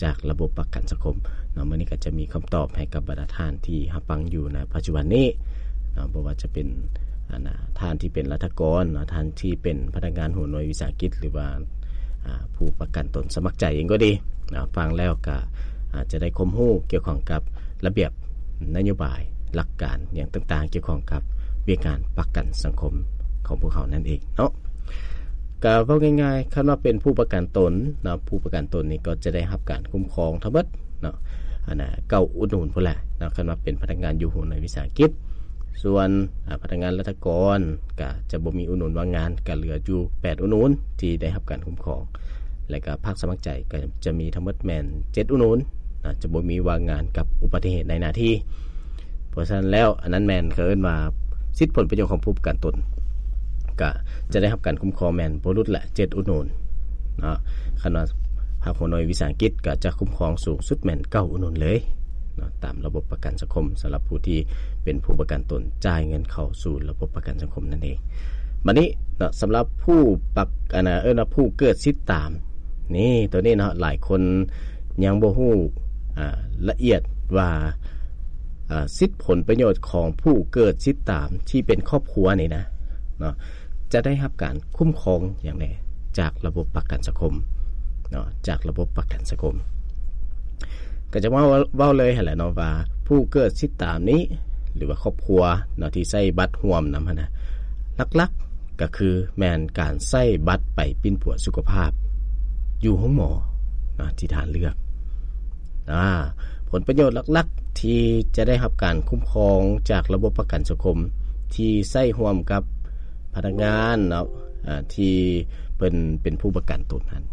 ຈາກລະບົບປະກັນສັງຄົມເນາະ. ມື້ນີ້ກໍຈະມີຄຳຕອບໃຫ້ກັບບັນດາທ່ານທີ່ຮັບຟັງຢູ່ໃນປັດຈຸບັນນີ້ເນາະ, ບໍ່ວ່າຈະເປັນ ອັນນະ ທ່ານທີ່ເປັນລັດຖະກອນເນາະ, ທ່ານທີ່ເປັນພະນັກງານຫົວໜ່ວຍວິສາຫະກິດ ຫຼືວ່າ ອາ ຜູ້ປະກັນຕົນສະໝັກໃຈເອງກໍດີເນາະ, ຟັງແລ້ວກໍອາດຈະໄດ້ຄວາມຮູ້ກ່ຽວຂ້ອງກັບລະບຽບ ນະໂຍບາຍ ຫຼັກການຫຍັງຕ່າງໆ ກ່ຽວຂ້ອງກັບວຽກງານປະກັນສັງຄົມຂອງພວກເຮົານັ້ນເອງເນາະ. ກະເວົ້າງ່າຍໆ ຄັນວ່າເປັນຜູ້ປະກັນຕົນເນາະ, ຜູ້ປະກັນຕົນນີ້ກໍຈະໄດ້ຮັບການຄຸ້ມຄອງທັງໝົດເນາະ, ອັນນະ ເກົ້າອຸດໜູນພຸ້ນແຫຼະເນາະ ຄັນວ່າເປັນພະນັກງານຢູ່ຫົວໜ່ວຍວິສາຫະກິດ. ສ່ວນ ອາ ພະນັກງານລັດຖະກອນກະຈະບໍ່ມີອຸດໜູນວ່າງງານ, ກະເຫຼືອຢູ່ແປດອຸດໜູນທີ່ໄດ້ຮັບການຄຸ້ມຄອງ. ແລະກະພັກສະໝັກໃຈກໍຈະມີທັງໝົດແມ່ນເຈັດອຸດໜູນນະ, ຈະບໍ່ມີວ່າງງານກັບອຸບັດຕິເຫດໃນໜ້າທີ່. ເພາະສະນັ້ນແລ້ວ ອັນນັ້ນແມ່ນເຂົາເອີ້ນວ່າສິດຜົນປະໂຫຍດຂອງຜູ້ປະກັນຕົນ ກະຈະໄດ້ຮັບການຄຸ້ມຄອງແມ່ນບໍ່ຫຼຸດແຫຼະເຈັດອຸດໜູນເນາະ. ຄັນວ່າພາກຫົວໜ່ວຍວິສາຫະກິດ ກະຈະຄຸ້ມຄອງສູງສຸດແມ່ນເກົ້າອຸດໜູນເລີຍເນາະ, ຕາມລະບົບປະກັນສັງຄົມ ສຳລັບຜູ້ທີ່ເປັນຜູ້ປະກັນຕົນ ຈ່າຍເງິນເຂົ້າສູ່ລະບົບປະກັນສັງຄົມນັ້ນເອງ. ບັດນີ້ເນາະ ສຳລັບຜູ້ປະ ອັນນະ ເອີ້ນວ່າຜູ້ເກີດສິດຕາມ ນີ້ ໂຕນີ້ເນາະ ຫຼາຍຄົນຍັງບໍ່ຮູ້ ອາ ລະອຽດວ່າ ອາ ສິດຜົນປະໂຫຍດຂອງຜູ້ເກີດສິດຕາມທີ່ເປັນຄອບຄົວນີ້ນະເນາະ ຈະໄດ້ຮັບການຄຸ້ມຄອງຫຍັງແດ່ຈາກລະບົບປະກັນສັງຄົມເນາະ, ຈາກລະບົບປະກັນສັງຄົມ. ກໍຈະເວົ້າ ເວົ້າເລີຍຫັ້ນແຫຼະເນາະ ວ່າຜູ້ເກີດສິດຕາມນີ້ ຫຼືວ່າຄອບຄົວເນາະ ທີ່ໃຊ້ບັດຮ່ວມນຳຫັ້ນນະ ຫຼັກໆ ກໍຄືແມ່ນການໃຊ້ບັດໄປປິ່ນປົວສຸຂະພາບຢູ່ໂຮງໝໍເນາະ ທີ່ທ່ານເລືອກ. ອາ ຜົນປະໂຫຍດຫຼັກໆ ທີ່ຈະໄດ້ຮັບການຄຸ້ມຄອງຈາກລະບົບປະກັນສັງຄົມ ທີ່ໃຊ້ຮ່ວມກັບພະນັກງານເນາະ ອາ ທີ່ເພິ່ນເປັນຜູ້ປະກັນຕົນຫັ້ນ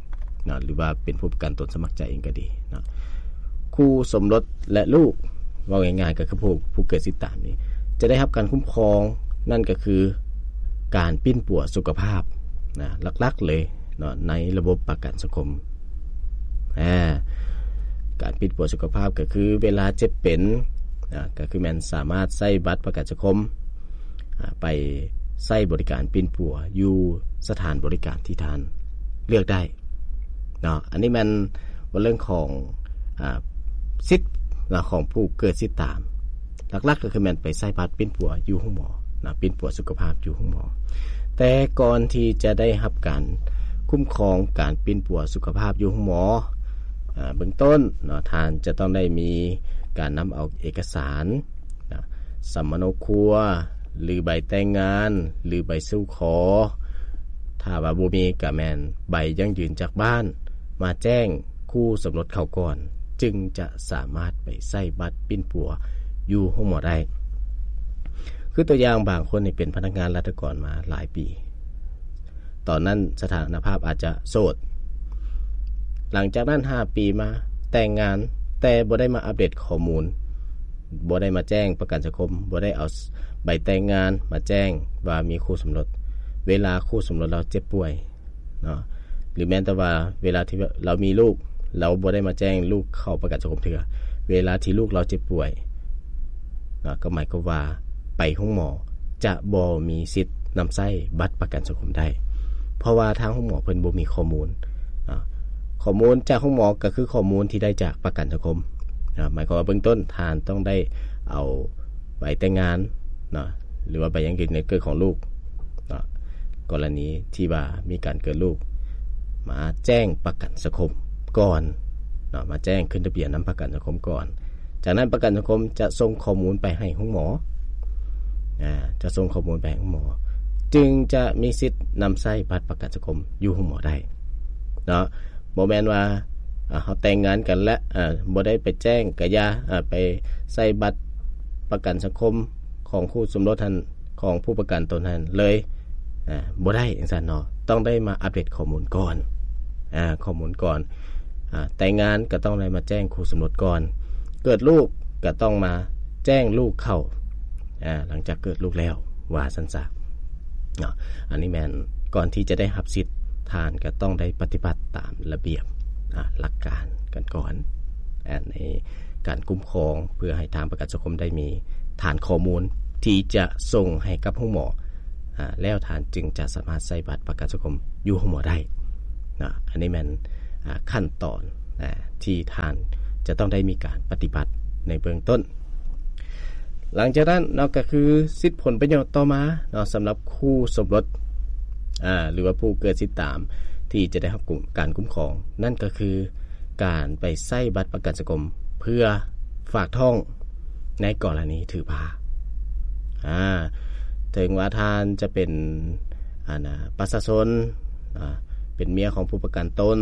ເນາະ ຫຼືວ່າເປັນຜູ້ປະກັນຕົນສະໝັກໃຈເອງກໍດີເນາະ, ຄູ່ສົມລົດ ແລະ ລູກ ເວົ້າງ່າຍໆ ກໍຄືຜູ້ ຜູ້ເກີດສິດຕາມນີ້ ຈະໄດ້ຮັບການຄຸ້ມຄອງ ນັ້ນກໍຄືການປິ່ນປົວສຸຂະພາບນະ ຫຼັກໆ ເລີຍເນາະ ໃນລະບົບປະກັນສັງຄົມ. ອາ ການປິ່ນປົວສຸຂະພາບກໍຄືເວລາເຈັບເປັນ ອາ ກໍຄືແມ່ນສາມາດໃຊ້ບັດປະກັນສັງຄົມ ອາ ໄປໃຊ້ບໍລິການປິ່ນປົວຢູ່ສະຖານບໍລິການທີ່ທ່ານເລືອກໄດ້ເນາະ. ອັນນີ້ແມ່ນວ່າເລື່ອງຂອງ ອາ ສິດເນາະ ຂອງຜູ້ເກີດສິດຕາມ ຫຼັກໆ ກໍຄືແມ່ນໄປໃຊ້ບັດປິ່ນປົວຢູ່ໂຮງໝໍເນາະ, ປິ່ນປົວສຸຂະພາບຢູ່ໂຮງໝໍ. ແຕ່ກ່ອນທີ່ຈະໄດ້ຮັບການຄຸ້ມຄອງການປິ່ນປົວສຸຂະພາບຢູ່ໂຮງໝໍ ອາ ເບື້ອງຕົ້ນເນາະ ທ່ານຈະຕ້ອງໄດ້ມີການນຳເອົາເອກະສານ ນະ ສຳມະໂນຄົວ ຫຼື ໃບແຕ່ງງານ ຫຼື ໃບສູ່ຂໍ. ຖ້າວ່າບໍ່ມີ ກະແມ່ນໃບຢັ້ງຢືນຈາກບ້ານ ມາແຈ້ງຄູ່ສົມລົດເຂົາກ່ອນ ຈຶ່ງຈະສາມາດໄປໃຊ້ບັດປິ່ນປົວຢູ່ໂຮງໝໍໄດ້. ຄືຕົວຢ່າງ ບາງຄົນນີ້ເປັນພະນັກງານລັດຖະກອນມາຫຼາຍປີ ຕອນນັ້ນສະຖານະພາບອາດຈະໂສດ. ຫຼັງຈາກນັ້ນຫ້າປີມາແຕ່ງງານ ແຕ່ບໍ່ໄດ້ມາອັບເດດຂໍ້ມູນ, ບໍ່ໄດ້ມາແຈ້ງປະກັນສັງຄົມ, ບໍ່ໄດ້ເອົາໃບແຕ່ງງານມາແຈ້ງວ່າມີຄູ່ສົມລົດ. ເວລາຄູ່ສົມລົດລາວເຈັບປ່ວຍເນາະ, ຫຼືແມ່ນແຕ່ວ່າເວລາທີ່ລາວມີລູກ, ລາວບໍ່ໄດ້ມາແຈ້ງລູກເຂົ້າປະກັນສັງຄົມເທື່ອ. ເວລາທີ່ລູກລາວເຈັບປ່ວຍເນາະ, ກໍໝາຍຄວາມວ່າໄປໂຮງໝໍ ຈະບໍ່ມີສິດນຳໃຊ້ບັດປະກັນສັງຄົມໄດ້, ເພາະວ່າທາງໂຮງໝໍເພິ່ນບໍ່ມີຂໍ້ມູນເນາະ. ຂໍ້ມູນຈາກໂຮງໝໍກໍຄືຂໍ້ມູນທີ່ໄດ້ຈາກປະກັນສັງຄົມເນາະ. ໝາຍຄວາມວ່າເບື້ອງຕົ້ນທ່ານຕ້ອງໄດ້ເອົາໃບແຕ່ງງານເນາະ ຫຼືວ່າໃບຢັ້ງຢືນການເກີດຂອງລູກເນາະ, ກໍລະນີທີ່ວ່າມີການເກີດລູກ ມາແຈ້ງປະກັນສັງຄົມກ່ອນເນາະ, ມາແຈ້ງຂຶ້ນທະບຽນນຳປະກັນສັງຄົມກ່ອນ. ຈາກນັ້ນປະກັນສັງຄົມຈະສົ່ງຂໍ້ມູນໄປໃຫ້ໂຮງໝໍ, ອາ ຈະສົ່ງຂໍ້ມູນໄປໃຫ້ໂຮງໝໍ ຈຶ່ງຈະມີສິດນຳໃຊ້ບັດປະກັນສັງຄົມຢູ່ໂຮງໝໍໄດ້ເນາະ. ບໍ່ແມ່ນວ່າ ອາ ເຮົາແຕ່ງງານກັນແລ້ວ ອາ ບໍ່ໄດ້ໄປແຈ້ງກະຢ່າ ອາ ໄປໃຊ້ບັດປະກັນສັງຄົມຂອງຄູ່ສົມລົດຫັ້ນ ຂອງຜູ້ປະກັນຕົນຫັ້ນເລີຍ ອາ ບໍ່ໄດ້ຈັ່ງຊັ້ນເນາະ, ຕ້ອງໄດ້ມາອັບເດດຂໍ້ມູນກ່ອນ ອາ ຂໍ້ມູນກ່ອນ. ອາ ແຕ່ງງານກໍຕ້ອງໄດ້ມາແຈ້ງຄູ່ສົມລົດກ່ອນ, ເກີດລູກກໍຕ້ອງມາແຈ້ງລູກເຂົ້າ ອາ ຫຼັງຈາກເກີດລູກແລ້ວ ວ່າຊັ້ນຊະເນາະ. ອັນນີ້ແມ່ນກ່ອນທີ່ຈະໄດ້ຮັບສິດ ທ່ານກໍຕ້ອງໄດ້ປະຕິບັດຕາມລະບຽບ ອາ ຫຼັກການກັນກ່ອນ ອາ ໃນການຄຸ້ມຄອງ ເພື່ອໃຫ້ທາງປະກັນສັງຄົມໄດ້ມີຖານຂໍ້ມູນທີ່ຈະສົ່ງໃຫ້ກັບໂຮງໝໍ ອາ ແລ້ວທ່ານຈຶ່ງຈະສາມາດໃຊ້ບັດປະກັນສັງຄົມຢູ່ໂຮງໝໍໄດ້ເນາະ. ອັນນີ້ແມ່ນ ອາ ຂັ້ນຕອນ ທີ່ທ່ານຈະຕ້ອງໄດ້ມີການປະຕິບັດໃນເບື້ອງຕົ້ນ. ຫຼັງຈາກນັ້ນເນາະ ກໍຄືສິດຜົນປະໂຫຍດຕໍ່ມາເນາະ ສຳລັບຄູ່ສົມລົດ ອາ ຫຼືວ່າຜູ້ເກີດສິດຕາມທີ່ຈະໄດ້ຮັບການຄຸ້ມຄອງ ນັ້ນກໍຄືການໄປໃຊ້ບັດປະກັນສັງຄົມເພື່ອຝາກທ້ອງໃນກໍລະນີຖືພາ. ອາ ເຖິງວ່າທ່ານຈະເປັນ ອັນນະ ປະຊາຊົນ ອາ ເປັນເມຍຂອງຜູ້ປະກັນຕົນ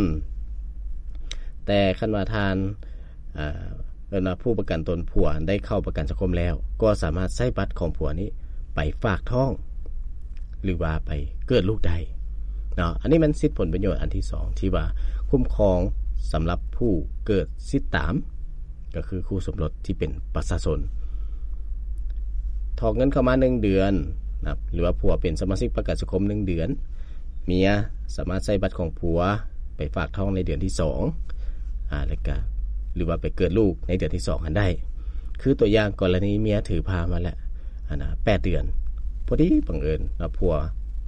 ແຕ່ຄັນວ່າທ່ານ ເອີ ເອີ້ນວ່າຜູ້ປະກັນຕົນ ຜົວໄດ້ເຂົ້າປະກັນສັງຄົມແລ້ວ ກໍສາມາດໃຊ້ບັດຂອງຜົວນີ້ໄປຝາກທ້ອງ ຫຼືວ່າໄປເກີດລູກໄດ້ເນາະ. ອັນນີ້ແມ່ນສິດຜົນປະໂຫຍດອັນທີສອງ ທີ່ວ່າຄຸ້ມຄອງສຳລັບຜູ້ເກີດສິດຕາມ ກໍຄືຄູ່ສົມລົດທີ່ເປັນປະຊາຊົນ ຖອກເງິນເຂົ້າມາໜຶ່ງເດືອນນະ ຫຼືວ່າຜົວເປັນສະມາຊິກປະກັນສັງຄົມໜຶ່ງເດືອນ ເມຍສາມາດໃຊ້ບັດຂອງຜົວໄປຝາກທ້ອງໃນເດືອນທີສອງ ອາ ແລ້ວກະ ຫຼືວ່າໄປເກີດລູກໃນເດືອນທີສອງຫັ້ນໄດ້. ຄືຕົວຢ່າງກໍລະນີເມຍຖືພາມາແລ້ວ ອັນນະ ແປດເດືອນ ພໍດີບັງເອີນວ່າຜົວ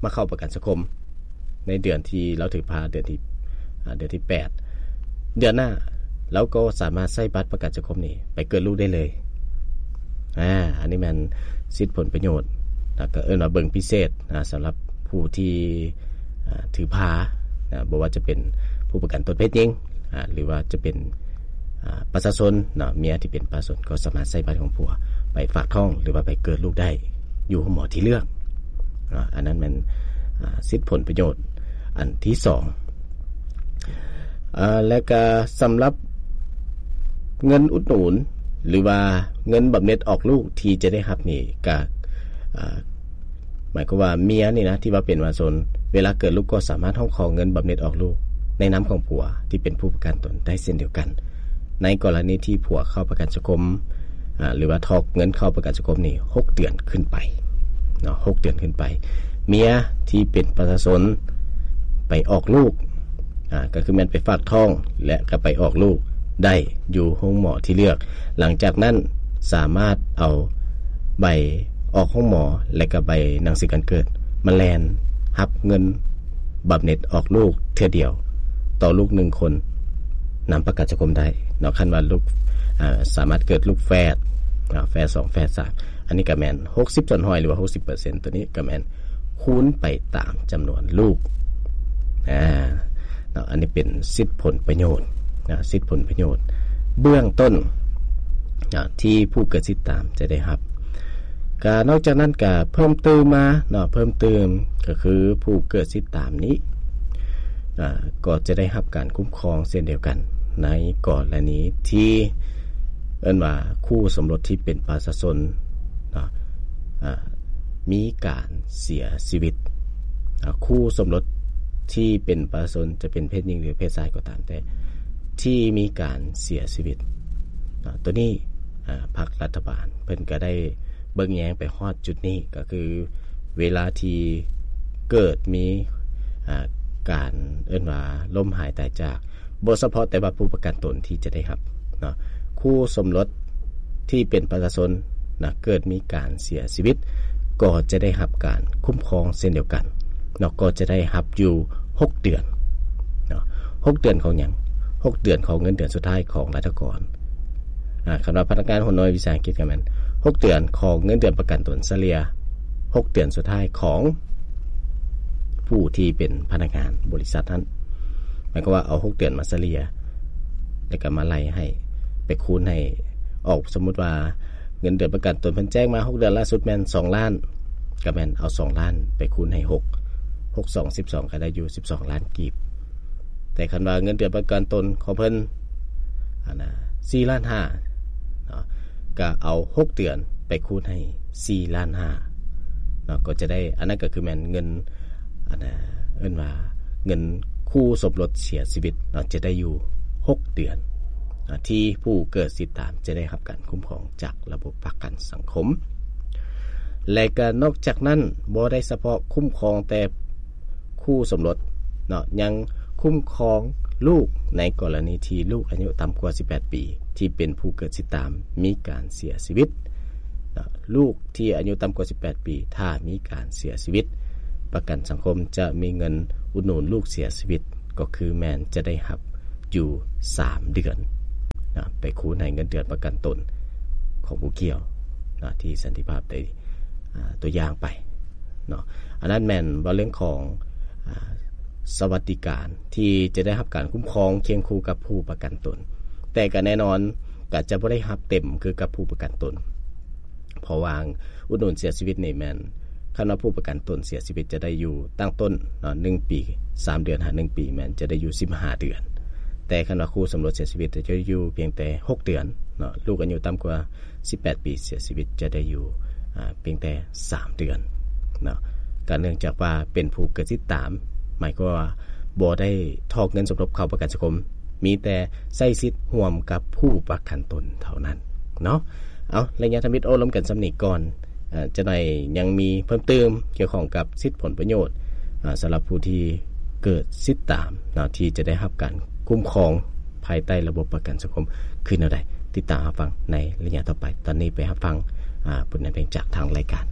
ມາເຂົ້າປະກັນສັງຄົມໃນເດືອນທີ່ລາວຖືພາ ເດືອນທີ່ ອາ ເດືອນທີແປດ ເດືອນໜ້າລາວກໍສາມາດໃຊ້ບັດປະກັນສັງຄົມນີ້ໄປເກີດລູກໄດ້ເລີຍ. ອາ ອັນນີ້ແມ່ນສິດຜົນປະໂຫຍດ ແລ້ວກໍເອີ້ນວ່າເບິ່ງພິເສດ ອາ ສຳລັບຜູ້ທີ່ ອາ ຖືພານະ ບໍ່ວ່າຈະເປັນຜູ້ປະກັນຕົນເພດຍິງ ອາ ຫຼືວ່າຈະເປັນ ອາ ປະຊາຊົນເນາະ ເມຍທີ່ເປັນປະຊາຊົນກໍສາມາດໃຊ້ບັດຂອງຜົວໄປຝາກທ້ອງ ຫຼືວ່າໄປເກີດລູກໄດ້ຢູ່ໂຮງໝໍທີ່ເລືອກເນາະ. ອັນນັ້ນແມ່ນ ອາ ສິດຜົນປະໂຫຍດອັນທີສອງ. ອາ ແລະກະສຳລັບເງິນອຸດໜູນ ຫຼືວ່າເງິນບຳເນັດອອກລູກທີ່ຈະໄດ້ຮັບນີ້ ກະ ອາ ໝາຍຄວາມວ່າເມຍນີ້ນະ ທີ່ວ່າເປັນປະຊາຊົນ ເວລາເກີດລູກກໍສາມາດຮ້ອງຂໍເງິນບຳເນັດອອກລູກໃນນາມຂອງຜົວທີ່ເປັນຜູ້ປະກັນຕົນໄດ້ເຊັ່ນດຽວກັນ ໃນກໍລະນີທີ່ຜົວເຂົ້າປະກັນສັງຄົມ ອາ ຫຼືວ່າຖອກເງິນເຂົ້າປະກັນສັງຄົມນີ້ ຫົກເດືອນຂຶ້ນໄປເນາະ ຫົກເດືອນຂຶ້ນໄປ. ເມຍທີ່ເປັນປະຊາຊົນໄປອອກລູກ ອາ ກໍຄືແມ່ນໄປຝາກທ້ອງ ແລະ ກໍໄປອອກລູກໄດ້ຢູ່ໂຮງໝໍທີ່ເລືອກ. ຫຼັງຈາກນັ້ນສາມາດເອົາໃບອອກໂຮງໝໍ ແລະ ກໍໃບໜັງສືການເກີດມາແລ່ນຮັບເງິນບຳເນັດອອກລູກເທື່ອດຽວຕໍ່ລູກໜຶ່ງຄົນ ນຳປະກັນສັງຄົມໄດ້ເນາະ. ຄັນວ່າລູກ ອາ ສາມາດເກີດລູກແຝດ ອາ ແຝດສອງ ແຝດສາມ ອັນນີ້ກໍແມ່ນຫົກສິບສ່ວນຮ້ອຍ ຫຼືວ່າຫົກສິບເປີເຊັນ ຕົວນີ້ກໍແມ່ນຄູນໄປຕາມຈຳນວນລູກ ອາ ເນາະ. ອັນນີ້ເປັນສິດຜົນປະໂຫຍດນະ ສິດຜົນປະໂຫຍດເບື້ອງຕົ້ນນະ ທີ່ຜູ້ເກີດສິດຕາມຈະໄດ້ຮັບ. ກະນອກຈາກນັ້ນກະເພີ່ມຕື່ມມາເນາະ ເພີ່ມຕື່ມກໍຄືຜູ້ເກີດສິດຕາມນີ້ ອາ ກໍຈະໄດ້ຮັບການຄຸ້ມຄອງເຊັ່ນດຽວກັນ ໃນກໍລະນີທີ່ເອີ້ນວ່າຄູ່ສົມລົດທີ່ເປັນປະຊາຊົນເນາະ ອາ ມີການເສຍຊີວິດ. ອາ ຄູ່ສົມລົດທີ່ເປັນປະຊາຊົນ ຈະເປັນເພດຍິງ ຫຼື ເພດຊາຍກໍຕາມແຕ່ ທີ່ມີການເສຍຊີວິດເນາະ ຕົວນີ້ ອາ ພັກລັດຖະບານເພິ່ນກໍໄດ້ເບິ່ງແຍງໄປຮອດຈຸດນີ້ ກໍຄືເວລາທີ່ເກີດມີ ອາ ການເອີ້ນວ່າລົ້ມຫາຍຕາຍຈາກ ບໍ່ສະເພາະແຕ່ວ່າຜູ້ປະກັນຕົນທີ່ຈະໄດ້ຮັບເນາະ ຄູ່ສົມລົດທີ່ເປັນປະຊາຊົນນະ ເກີດມີການເສຍຊີວິດ ກໍຈະໄດ້ຮັບການຄຸ້ມຄອງເຊັ່ນດຽວກັນເນາະ ກໍຈະໄດ້ຮັບຢູ່ຫົກເດືອນເນາະ. ຫົກເດືອນຂອງຫຍັງ? ຫົກເດືອນຂອງເງິນເດືອນສຸດທ້າຍຂອງລັດຖະກອນ. ອາ ຄັນວ່າພະນັກງານຫົວໜ່ວຍວິສາຫະກິດກໍແມ່ນຫົກເດືອນຂອງເງິນເດືອນປະກັນຕົນສະເລ່ຍຫົກເດືອນສຸດທ້າຍຂອງຜູ້ທີ່ເປັນພະນັກງານບໍລິສັດນັ້ນ. ໝາຍຄວາມວ່າເອົາຫົກເດືອນມາສະເລ່ຍ ແລ້ວກໍມາໄລ່ໃຫ້ ໄປຄູນໃຫ້ອອກ. ສົມມຸດວ່າເງິນເດືອນປະກັນຕົນເພິ່ນແຈ້ງມາຫົກເດືອນ ລ່າສຸດແມ່ນສອງລ້ານ ກໍແມ່ນເອົາສອງລ້ານໄປຄູນໃຫ້ຫົກ ຫົກສອງສິບສອງ ກໍໄດ້ຢູ່ສິບສອງລ້ານກີບ. ແຕ່ຄັນວ່າເງິນເດືອນປະກັນຕົນຂອງເພິ່ນ ອັນນະ ສີ່ລ້ານຫ້າເນາະ ກໍເອົາຫົກເດືອນໄປຄູນໃຫ້ສີ່ລ້ານຫ້າເນາະ ກໍຈະໄດ້ ອັນນັ້ນກໍຄືແມ່ນເງິນ ອັນນະ ເອີ້ນວ່າເງິນຄູ່ສົມລົດເສຍຊີວິດເນາະ ຈະໄດ້ຢູ່ຫົກເດືອນເນາະ ທີ່ຜູ້ເກີດສິດຕາມຈະໄດ້ຮັບການຄຸ້ມຄອງຈາກລະບົບປະກັນສັງຄົມ. ແລະກໍນອກຈາກນັ້ນ ບໍ່ໄດ້ສະເພາະຄຸ້ມຄອງແຕ່ ຄູ່ສົມລົດເນາະ ຍັງຄຸ້ມຄອງລູກໃນກໍລະນີທີ່ລູກອາຍຸຕ່ຳກວ່າສິບແປດປີ ທີ່ເປັນຜູ້ເກີດສິດຕາມມີການເສຍຊີວິດເນາະ. ລູກທີ່ອາຍຸຕ່ຳກວ່າສິບແປດປີ ຖ້າມີການເສຍຊີວິດ ປະກັນສັງຄົມຈະມີເງິນອຸດໜູນລູກເສຍຊີວິດ ກໍຄືແມ່ນຈະໄດ້ຮັບ ຢູ່ສາມເດືອນນະ ໄປຄູນໃຫ້ເງິນເດືອນປະກັນຕົນຂອງຜູ້ກ່ຽວນະ ທີ່ສັນຕິພາບໄດ້ ອ່າ ຕົວຢ່າງໄປເນາະ. ອັນນັ້ນແມ່ນວ່າເລື່ອງຂອງ ອ່າ ສະຫວັດດີການທີ່ຈະໄດ້ຮັບການຄຸ້ມຄອງຄຽງຄູ່ກັບຜູ້ປະກັນຕົນ, ແຕ່ກໍແນ່ນອນກໍຈະບໍ່ໄດ້ຮັບເຕັມຄືກັບຜູ້ປະກັນຕົນ. ເພາະວ່າອຸດໜູນເສຍຊີວິດນີ້ແມ່ນ ຄັນວ່າຜູ້ປະກັນຕົນເສຍຊີວິດຈະໄດ້ຢູ່ຕັ້ງຕົ້ນເນາະ ໜຶ່ງປີສາມເດືອນ ຫາ ໜຶ່ງປີ ແມ່ນຈະໄດ້ຢູ່ສິບຫ້າເດືອນ, ແຕ່ຄັນວ່າຄູ່ສົມລົດເສຍຊີວິດຈະຢູ່ພຽງແຕ່ຫົກເດືອນເນາະ. ລູກອາຍຸຕ່ຳກວ່າສິບແປດປີເສຍຊີວິດຈະໄດ້ຢູ່ ອາ ພຽງແຕ່ສາມເດືອນເນາະ. ກໍເນື່ອງຈາກວ່າເປັນຜູ້ເກີດສິດຕາມ ໝາຍຄວາມວ່າບໍ່ໄດ້ຖອກເງິນສົມທົບເຂົ້າປະກັນສັງຄົມ, ມີແຕ່ໃຊ້ສິດຮ່ວມກັບຜູ້ປະກັນຕົນເທົ່ານັ້ນເນາະ. ເອົາ ໄລຍະທຳອິດໂອ້ລົມກັນສ່ຳນີ້ກ່ອນ. ອາ ຈະໄດ້ຍັງມີເພີ່ມເຕີມກ່ຽວຂ້ອງກັບສິດຜົນປະໂຫຍດ ອາ ສຳລັບຜູ້ທີ່ເກີດສິດຕາມເນາະ ທີ່ຈະໄດ້ຮັບການຄຸ້ມຄອງພາຍໃຕ້ລະບົບປະກັນສັງຄົມຄືແນວໃດ, ຕິດຕາມຮັບຟັງໃນໄລຍະຕໍ່ໄປ. ຕອນນີ້ໄປຮັບຟັງ ອາ ບົດນຳເພງຈາກທາງລາຍການ.